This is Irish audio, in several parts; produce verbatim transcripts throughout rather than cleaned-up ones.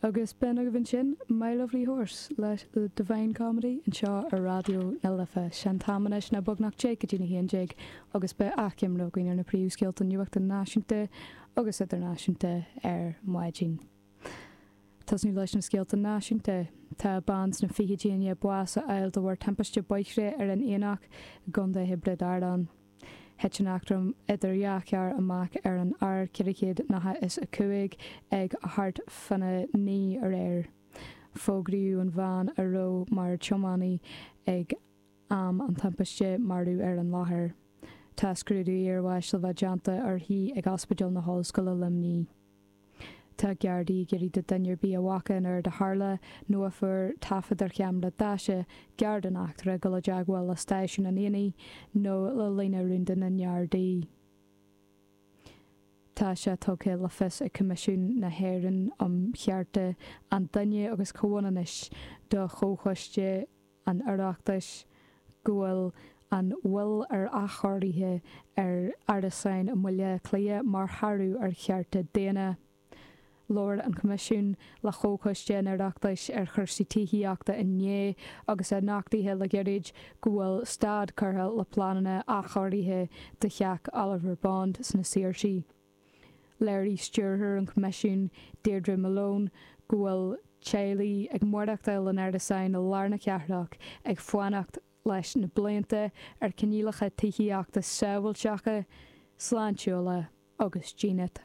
Agus b'in agaibh ansin My Lovely Horse le The Divine Comedy anseo ar Raidió na Life. Sé an t-am anois ná beagnach deich go dtí a haon déag agus beidh achoimre againn ar na príomhscéalta nuachta náisiúnta agus idirnáisiúnta ar maidin. Tosnú leis na scéalta náisiúnta. Tá bean sna fichidí i ndiaidh bás a fháil de bharr timpiste bóithre ar an Aonach i gContae Thiobraid Árann. Thit an eachtra idir dhá charr amach ar an R ceithre chéad nócha is a cúig ag thart fána naoi aréir. Fógraíodh an bhean a raibh mar tiománaí ag am an timpiste marbh ar an láthair. Tá scrúdú iarbháis le bheith déanta uirthi ag Ospidéal na hOllscoile Luimnigh. Tá Gardaí ag iarraidh do dhuine ar bith a bhfaca an uair a tharla nó a fuair taifead ar cheamara daise gar don eachtra dul i dteagmháil le Stáisiún an Aonaigh nó le líne rúnda na nGardaí. Tá sé tugtha le fios ag Coimisiún na hÉireann um Chearta an Duine agus Comhionannais do Chomhchoiste an Oireachtais go bhfuil an mhoill ar athchóirithe ar árasáin i mBaile Átha Cliath mar shárú ar chearta daonna. Labhair an Coimisiún le Comhchoiste an Oireachtais ar chúrsaí tithíochta inné agus é nochtaithe le gairid go bhfuil stad curtha le pleananna athchóirithe do theach Oliver Bond sna Saoirsí. Léirigh stiúrthóir an Choimisiúin, Deirdre Malone, go bhfuil teaghlaigh ag maireachtáil in árasáin i lár na cathrach ag fanacht leis na blianta ar choinníollacha tithíochta sábháilteacha, sláintiúla agus dínit.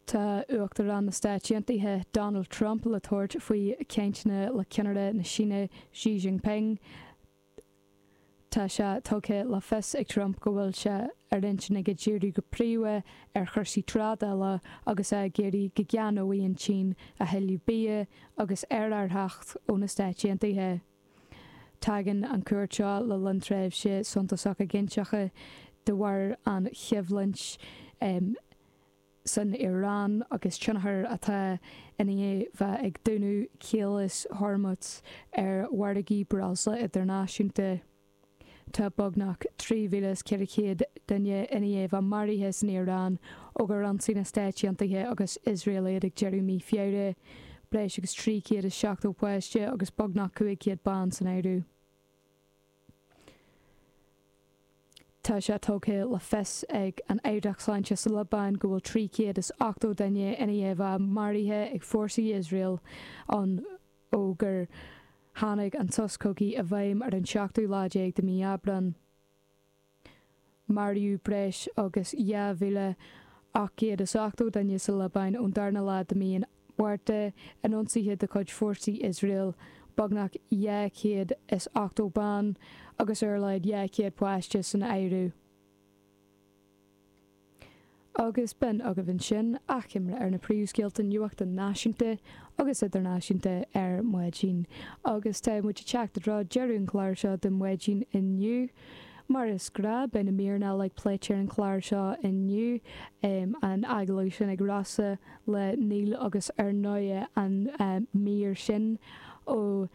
Tá Uachtarán na Stáit Aontaithe, Donald Trump, le tabhairt faoi chainteanna le ceannaire na Síne Xi Jinping. Tá sé tugtha le fios ag Trump go bhfuil sé ar intinn aige díriú go príomha ar chúrsaí trádála agus é ag iarraidh go gceannóidh an tSín a thuilleadh bia agus aerárthach ó na Stáit Aontaithe. Tagann an chuairt seo le linn tréimhse suntasach éiginnteachta de bharr an choimhlint san Iaráin agus tionchar atá i ndiaidh bheith ag dúnadh Chaolas Hormuz ar mhargaí breosla idirnáisiúnta. Tá beagnach trí mhíle is ceithre chéad duine i ndiaidh bheith maraithe san Iaráin ó gur ionsaigh na Stáit Aontaithe agus Iosrael iad ag deireadh mí Feabhra, breis agus trí chéad is seachtó páiste agus beagnach cúig chéad bean san áireamh. Tá sé tugtha le fios ag an Aireacht Sláinte sa Liobáin go bhfuil trí chéad is ochtó duine i ndiaidh a bheith maraithe ag fórsaí Iosrael ann ó gur tháinig an sos cogaidh i bhfeidhm ar an seachtú lá déag de mhí Aibreán. Maraíodh breis agus dhá mhíle ocht gcéad is ochtó duine sa Liobáin ón darna lá de mhí an Mhárta in ionsaithe de chuid fórsaí Iosrael, beagnach dhá chéad is ochtó bean agus ar a laghad dhá chéad páiste san áireamh. Agus b'in agaibh ansin achoimre ar na príomhscéalta nuachta náisiúnta agus idirnáisiúnta ar maidin. Agus tá muid ag teacht i dtreo deireadh an chláir seo do maidin inniu. Mar is gnáth, beidh na míreanna uilig pléite ar an chlár seo inniu, an agallamh sin ag Rossa le Neil agus ar ndóigh an mír sin ó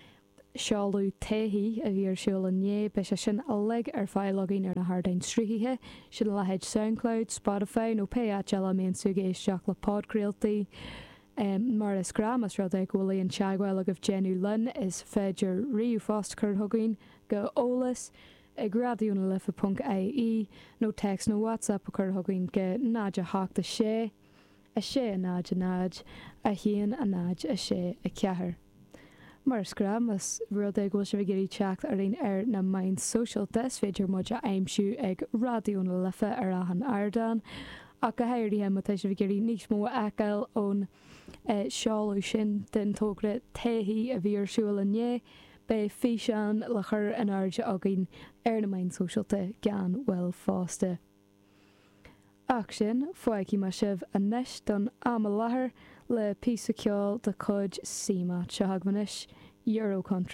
seoladh Taithí a bhí ar siúl inné. Beidh sé sin uilig ar fáil againn ar na hardáin sruthaithe, sin a leithéid Soundcloud, Spotify nó pé áit eile a mbíonn tú ag éisteacht le podchraoltaí. Mar is gnáth, más rud é go bhfuil aon teagmháil agaibh déanamh linn, is féidir ríomhphost a chur chugainn go eolas ag raidió na life ponc ie nó téacs nó WhatsApp a chur chugainn go náid a hocht a sé, a sé a náid a náid, a haon a náid a sé a ceathair. Mar is gnáth, más rud é go bhfuil sibh ag iarraidh teacht orainn ar na meáin sóisialta, is féidir muid a aimsiú ag Raidió na Life ar achan ardán, ach go háirithe má tá sibh ag iarraidh níos mó a fheiceáil ón seoladh sin den togra Taithí a bhí ar siúl inné, beidh físeán le cur in airde againn ar na meáin sóisialta gan mhoill fosta. Ach sin, fágfaidh mé sibh anois don am i láthair le píosa ceoil de chuid CMAT. Seo chugaibh anois, Euro Country.